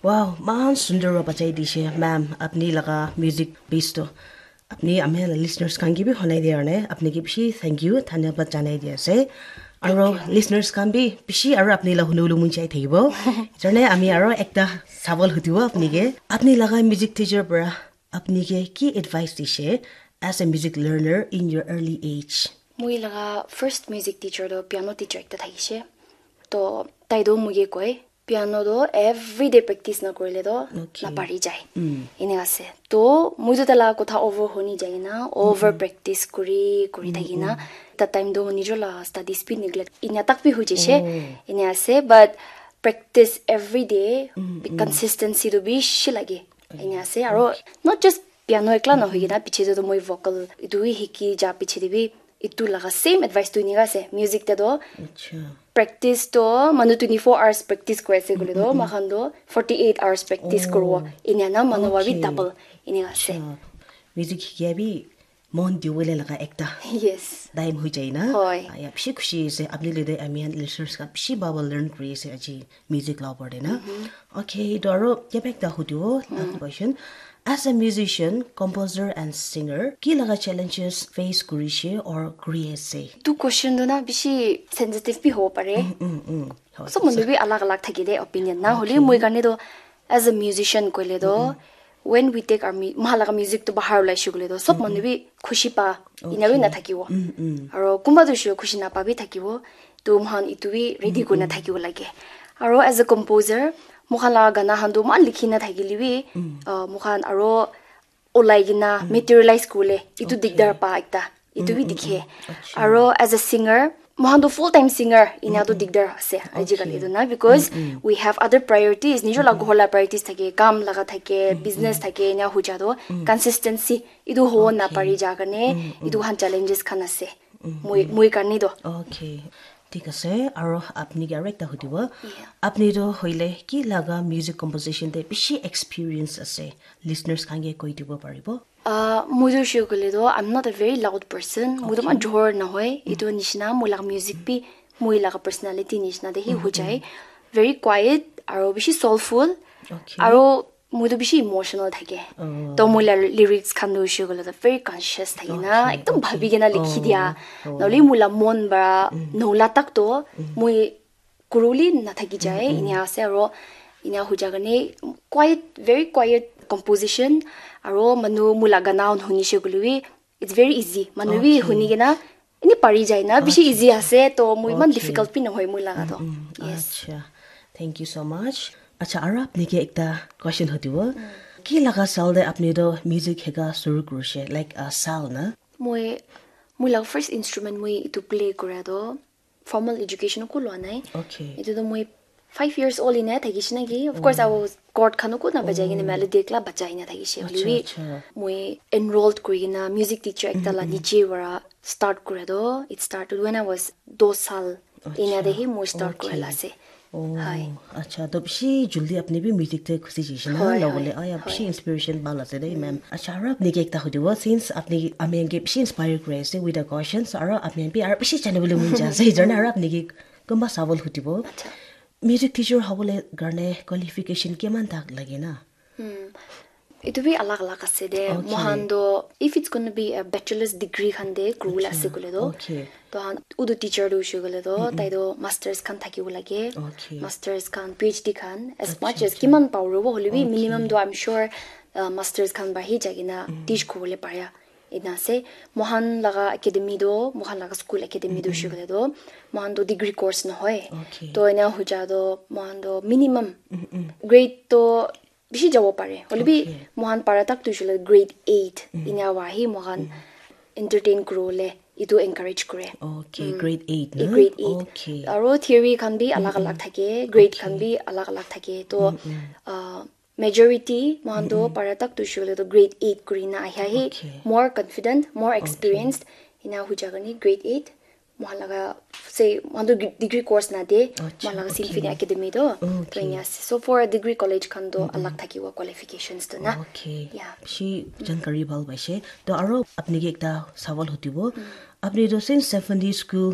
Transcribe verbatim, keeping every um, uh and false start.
Wow, man sundor para bajai dishe, ma'am. Apni laga music piece to. Apni ami la listeners khan ki bi honai dia ne. Apni ki bishi thank you, dhanyabad janai dia ase. Aro listeners khan bi bishi aro apni la hunu hunu mun chai thakibo. Jane ami aro ekta sawal hudibo apni ke. Apni laga music teacher para apni ke ki advice dishe as a music learner in your early age? Moi laga first music teacher to piano teacher ekta thakishe. To tai do moi ke koi, piano do everyday practice na korile do napari jai. Ene ase. To moi to tala kotha over honi jai na, over practice kuri kuri thaki na. That time do nijo la studies bi neglect ina tak bi hui jai she. Ene ase, but practice every day, consistency do bishi lage. Ene ase. Aro not just piano ekla na hoi kina, piche to moi vocal itu hi hiki ja piche de bi itu laga same advice tu nika ase. Music te do practice to manu twenty-four hours practice kore ase kule do, makhan do forty-eight hours practice koro. Enya na manu wa bi double enya ase. Music hikia bi mon diwole laga ekta time hui jai na. Hoi. Ah, ya, bishi khushi ase. Apni le de ami khan listeners ka bishi baba learn kuri ase aji music la upor de na. Okay, to aro kya bek ta hudu last question. As a musician, composer and singer, ki laga challenges face kuri she or kuri ase? Tu question do na bishi sensitive bi hobo pare. Mm, mm, mm. Sob manu bi alag alag thaki de opinion na. Holi moi karne do as a musician koile do, when we take our mu- maha laga music to bahar ulai shi koile do, sob manu bi khushi pa ina bi na thakibo. Aro kumba tu shi khushi na pa bi thakibo. To mohan itu bi ready kurina thakibo lage. Aro as a composer, mohan laga gana han tu man likhi na thakile bi, uh, mohan aro olai kina materialize kule itu digdar pa ekta itu bi dikhe. Aro as a singer, mohan tu full time singer ina tu digdar ase ajikali itu na, because we have other priorities, nijo la ghor la priorities thake, kam laga thake, business thake, ina huja tu consistency itu ho na pari ja karne itu han challenges khan ase. Moi moi karne do. Okay. Thik ase, aro apni ke aro ekta hudibo. Apni to hoile ki laga music composition te bishi experience ase, listeners khan ke koi dibo paribo? Ah, moi to sure kole to, I'm not a very loud person. Moi to man jhor na hoi. Itu nishina moi laga music bi moi laga personality nishina de hi ho jai. Very quiet aro bishi soulful. Okay. Aro moi to bishi emotional thake. To moi la lyrics khan tu hoishe koile to very conscious thake na, ekdom bhabi kena likhi dia. Nahole moi la mon para nola tak to moi kuruli na thaki jai. Ina ase aro ina huja karne quiet, very quiet composition. Aro manu moi la gana hunishe koile bi it's very easy. Manu bi huni kena ini pari jai na, bishi easy ase, to moi iman difficult bi nohoi moi laga to. Yes. Acha, thank you so much. Acha, aro apni ke ekta question hudibo. Ki laga sal de apni to music hika suru kurishe, like a sal na? Moi, moi laga first instrument moi itu play kura to formal education ko lua nai. Okay. Itu to moi five years old ina thakishe na ki. Of course, I was chord khan ko na bajai kena melody ekla bajai na thakishe. Acha, acha. Moi enrolled kuri kena music teacher ekta la niche para start kura to. It started when I was dos sal. Ina de hi moi start kura la ase. Oh, acha, to bishi juldi apni bi music te khusi jishe na lobole. Aya, bishi inspiration bhal ase de, ma'am. Acha, aro apni ke ekta hudibo, since apni ami ke bishi inspire kuri ase with the questions, aro apni bi aro bishi janibole mon jai ase, aro apni ke kumba sawal hudibo. Acha. Music teacher hobole karne qualification kiman tak lage na? Hmm. Itu bi alag alag ase de. Okay. Mohan do, if it's gonna be a bachelor's degree khan de kuribole ase koile do. Okay. To han udu teacher do hoishe koile do, tai do masters khan thakibo lage. Okay. Masters khan, P H D khan, as much as kiman paribo hole bi minimum do, I'm sure, uh, masters khan para hi jai kena teach kuribole paria. Ena ase, mohan laga academy do, mohan laga school academy do hoishe koile do, mohan do degree course nohoi. Okay. To ena huja do, mohan do minimum grade to bishi jabo pare. Hole bi mohan para tak tu hoishe koile grade eight. Ena wa hi mohan entertain kuribole itu encourage kure. Okay, grade eight na? Grade eight. Okay. Aro theory khan bi alag alag thake, grade khan bi alag alag thake. To, uh, majority mohan to para tak tu hoishe koile to grade eight kurina ahi ahi. Okay. More confident, more experienced. Ena huja karne grade eight. Mohan laga, say, mohan to degree course na de. Acha, mohan laga Symphony Academy to. Okay. To ena ase. So for a degree college khan to alag thakibo qualifications to na. Okay. Yeah. Bishi jankari bhal paishe. To aro apni ke ekta sawal hudibo. Apni to since Symphony School